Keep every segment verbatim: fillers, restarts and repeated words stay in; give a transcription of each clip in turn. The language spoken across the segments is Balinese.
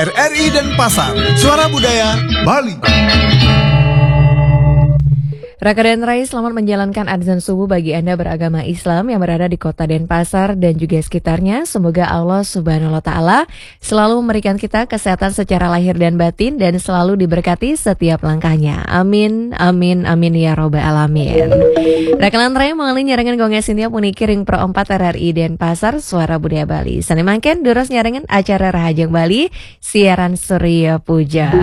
R R I Denpasar, Suara Budaya Bali. Raka dan Rai, selamat menjalankan azan subuh bagi Anda beragama Islam yang berada di kota Denpasar dan juga sekitarnya. Semoga Allah Subhanahu wa Ta'ala selalu memberikan kita kesehatan secara lahir dan batin dan selalu diberkati setiap langkahnya. Amin, amin, amin ya robbal alamin. Raka lan Rai, mangkin nyarengan Gung Gai Sintia puniki ring Pro empat R R I Denpasar, Suara Budaya Bali. Sane mangkin durus nyarengan acara Rahajeng Bali, siaran Surya Puja.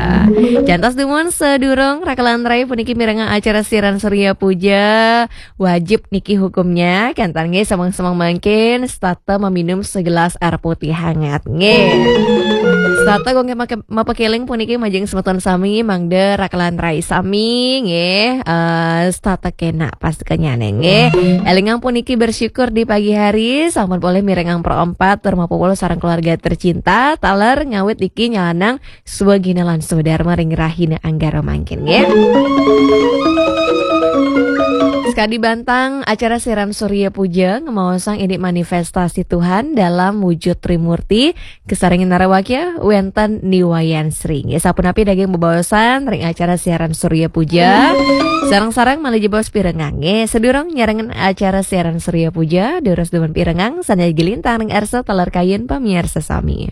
Jantos dumun sadurung Raka lan Rai puniki mirengang acara siaran Surya Puja, wajib niki hukumnya, kanten nggih sameng-sameng mangkin setata meminum segelas air putih hangat nggih. Setata Gung Gai make-, mapakeling puniki majeng semeton sami, mangda Raka lan Rai sami nggih, eh, setata kenak pas kenyane nggih. Elingang puniki bersyukur di pagi hari, sampun polih mirengang Pro empat tur mapupul sareng keluarga tercinta, taler ngawit niki nyalanang swagina lan swadarma ring rahina Anggara mangkin nggih. Sekadi bantang acara siaran Surya Puja ngemaosang indik manifestasi Tuhan dalam wujud Trimurti, kasarengin narawakya wenten Ni Wayan Sri. Nggih, sapunapi daging bebaosan ring acara siaran Surya Puja. Sareng-sareng malih jebos pirengang nggih. Sadurung nyarengan acara siaran Surya Puja, durus dumun pirengang sane agi lintang ring arsa taler kayun pamiarsa sami.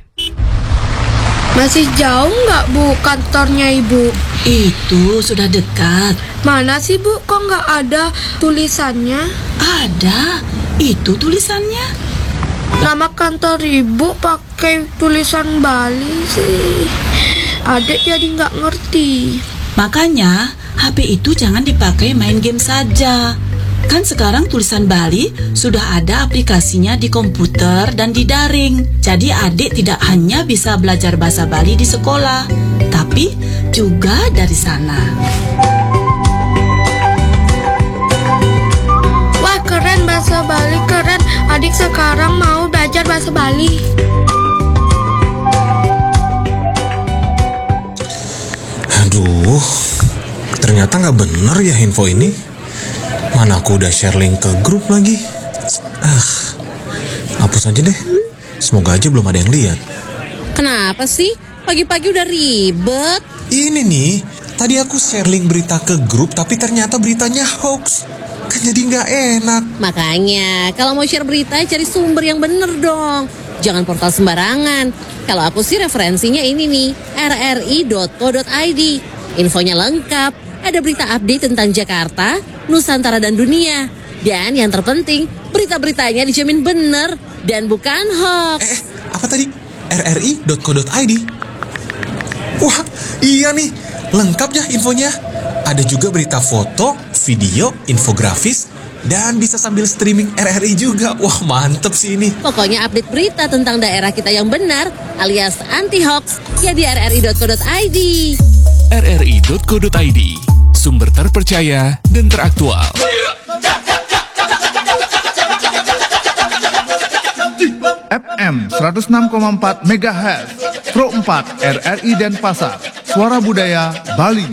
Masih jauh nggak, Bu, kantornya Ibu? Itu sudah dekat. Mana sih, Bu? Kok nggak ada tulisannya? Ada. Itu tulisannya. Nama kantor Ibu pakai tulisan Bali sih. Adik jadi nggak ngerti. Makanya, H P itu jangan dipakai main game saja. Kan sekarang tulisan Bali sudah ada aplikasinya di komputer dan di daring. Jadi adik tidak hanya bisa belajar bahasa Bali di sekolah, tapi juga dari sana. Wah, keren bahasa Bali, keren. Adik sekarang mau belajar bahasa Bali. Aduh, ternyata nggak bener ya info ini. Mana aku udah share link ke grup lagi. Ah, hapus aja deh. Semoga aja belum ada yang lihat. Kenapa sih? Pagi-pagi udah ribet. Ini nih, tadi aku share link berita ke grup, tapi ternyata beritanya hoax. Kan jadi nggak enak. Makanya, kalau mau share berita, cari sumber yang bener dong. Jangan portal sembarangan. Kalau aku sih referensinya ini nih, R R I dot co dot I D. Infonya lengkap, ada berita update tentang Jakarta, Nusantara dan dunia. Dan yang terpenting, berita-beritanya dijamin bener dan bukan hoax. Eh, eh, apa tadi? R R I dot co dot I D. Wah, iya nih, lengkap ya infonya. Ada juga berita foto, video, infografis, dan bisa sambil streaming R R I juga. Wah, mantep sih ini. Pokoknya update berita tentang daerah kita yang benar alias anti hoax ya di R R I dot co dot I D. R R I dot co dot I D, sumber terpercaya dan teraktual. F M seratus enam koma empat megahertz, Pro empat R R I Denpasar, Suara Budaya Bali.